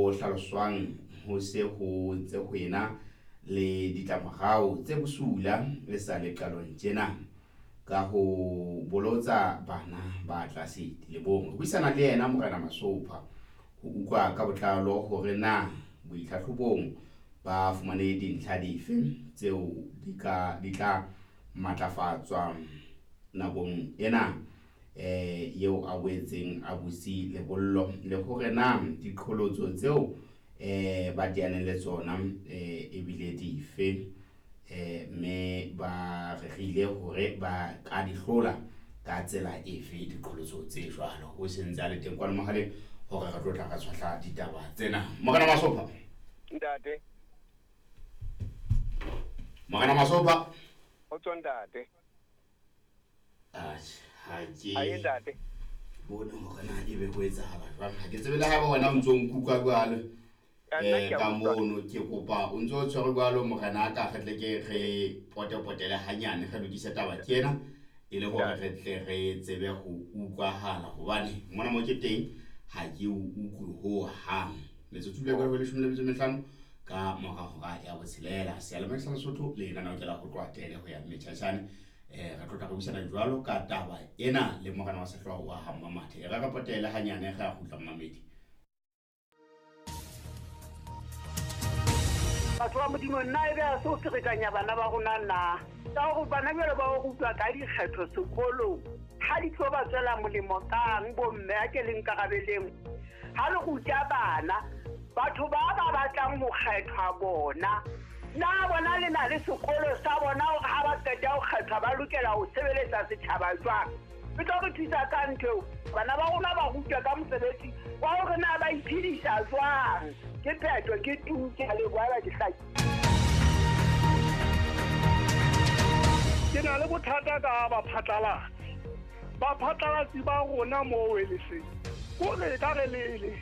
Ho hlaloswang ho se ho ntse ho ena le ditlamorao tse bosula e sa le qalong tjena ka ho bolotsa bana ba tlase dilemong. Re buisana le yena Morena Masopha ho utlwa ka botlalo hore na boitlhahlobong ba fumane dintlha dife tseo di ka di tla matlafatswa nakong ena eh eo a boetseng a butse lebollo le hore na diqholotso tseo eh ba teaneng le tsona eh ebile dife eh mme ba rerile hore ba ka di hlola ka tsela efe diqholotso tse jwalo. O sentse a le teng kwano mohaleng hore re tlo tla re tshwahla ditaba tsena. Morena Masopha. Ntate. Morena Masopha. Ho tswa ntate. Atjhe, ha ke Aye ntate. bone hore na ebe ho etsahala jwang. Ha ke tsebe le haeba wena o ntso nkutlwa jwalo. Ya, nna Eh ke a ka utlwa. mono ke kopa o ntso o tshwere jwalo morena ka re tle ke re potepotele hanyane re lokise taba ke ena e le hore re tle re tsebe ho utlwahala hobane mona mo ke teng ha ke o utlwe ho hang. Metsotso e le leshome le metso e mehlano ka mora hora ya botshelela. Seyalemoya sa Lesotho le lenaneo ke la ho tloha tele ho ya metjhatjhane. Re tlo tla re buisana jwalo ka taba ena le morena wa sehlooho wa ha Mmamathe. E re re potele hanyane re a kgutla mmamedi. Batho ba Modimo, nna ebe ha se ho ferekanya bana ba rona na? Ka hore bana jwale ba o rutwa ka dikgetho sekolong, ha di tlo ba tswela molemo kang bomme a ke le nkarabeleng. Ha le ruta bana, batho ba ba batlang ho kgethwa bona, na bona le na le sekolo sa bona hore ha ba qeta ho kgethwa ba lokela ho sebeletsa setjhaba jwang? E tlo re thusa ka ntho eo. Bana ba rona ba rutwa ka mosebetsi wa hore na ba iphedisa jwang. Ke phetho, ke tu, ke a leboha haeba ke hlakile. Ke na le bothata ka baphatlalatsi. Baphatlalatsi ba rona mo Weleseng, kore e ka re lele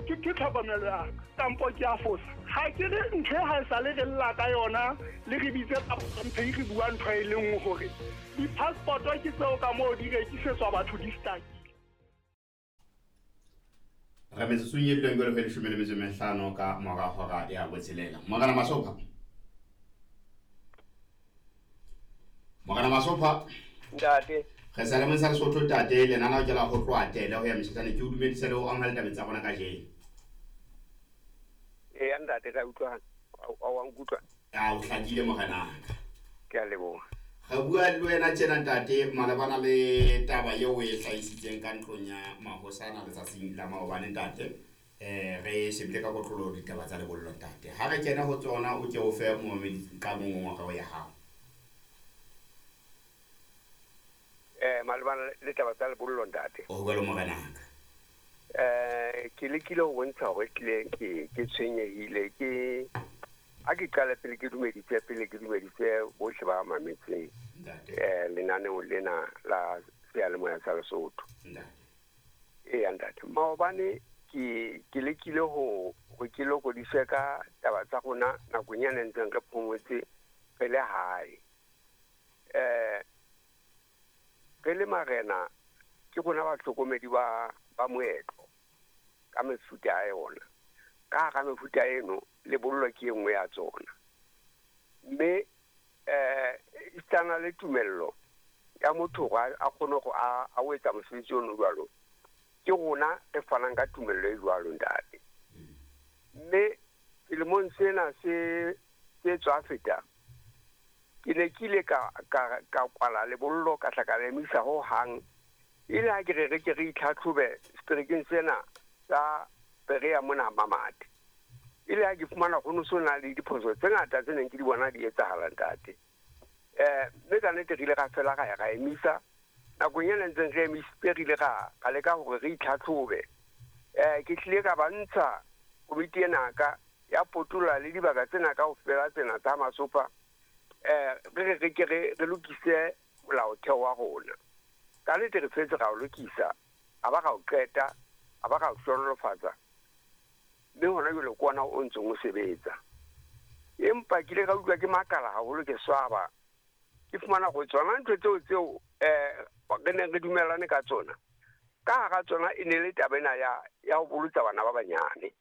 ke ke tlhokomelo ya ka kampo ke a fosa. Ha ke re ntho e ha e sale re lla ka yona le re bitse mphe re bua ntho e le nngwe hore di-passport-o ke tseo ka moo di rekisetswa batho di stakile. Re metsotsong e duleng jwalo ho leshome le metso e mehlano ka mora hora ya botshelela. Morena Masopha. Morena Masopha. Ntate. Re sa le sa Lesotho ntate lenaneo ke la ho tloha tele ho ya metjhatjhane ke o dumedise le ho amohela tabeng tsa rona kajeno. Eya ntate ka utlwana. A wa nkutlwa? A o hlakile morenaka. Ke a leboha. Re bua le wena tjena ntate malebana le taba eo o e hlahisitseng ka ntlong ya mahosana letsatsing la maobane ntate. Re shebile ka kotloloho ditaba tsa lebollo ntate. Ha re kena ho tsona o ke o fe momamedi ka mongongoreo ya hao. Malebana le taba tsa lebollo ntate. O jwalo morenaka. Ke lekile ho bontsha hore tlile ke tshwenyehile ke a ke qale pele ke dumedise pele ke dumedise bohle ba mametseng Ntate. Lenaneo lena la seyalemoya sa Lesotho. Ntate. Eya ntate, maobane ke lekile ho hore ke lokodise ka taba tsa rona nakong ena ntseng re phomotse re le hae. Re le marena ke rona bahlokomedi ba moetlo ka mefuta ya yona. Ka hara mefuta eno lebollo ke e nngwe ya tsona. Mme esitana le tumello ya motho hore a kgone hore a o etsa mosebetsi ono jwalo, ke rona re fanang ka tumello e jwalo ntate. Mme selemong sena se tswa feta, ke ne ke ile ka kwala lebollo ka tla ka le emisa ho hang. E le ha ke re ke re itlhatlhobe seterekeng sena sa Berea mona Mamate. E le ha ke fumana ho no sona le diphoso tse ngata tse neng ke di bona di etsahala ntate. Mme ka nnete re ile ra fela ra ya ra emisa. Nakong ena ntseng re emisitse re ile ra leka hore re itlhatlhobe. Ke tlile ka ba ntsha komiti ena ka ya potoloha le dibaka tsena kaofela tsena tsa Masopha. Re re ke re lokise molaotheo wa rona. Ka nnete re fetse ra o lokisa, a ba ra o qeta, a ba ra o hlohonolofatsa. Mme hona jwale ke ona o ntseng o sebetsa. Empa ke ile ka utlwa ke makala haholo ke swaba. Ke fumana hore tsona ntho tseo re neng re dumellane ka tsona. Ka hara tsona e ne le taba ena ya ho bolotsa bana ba banyane.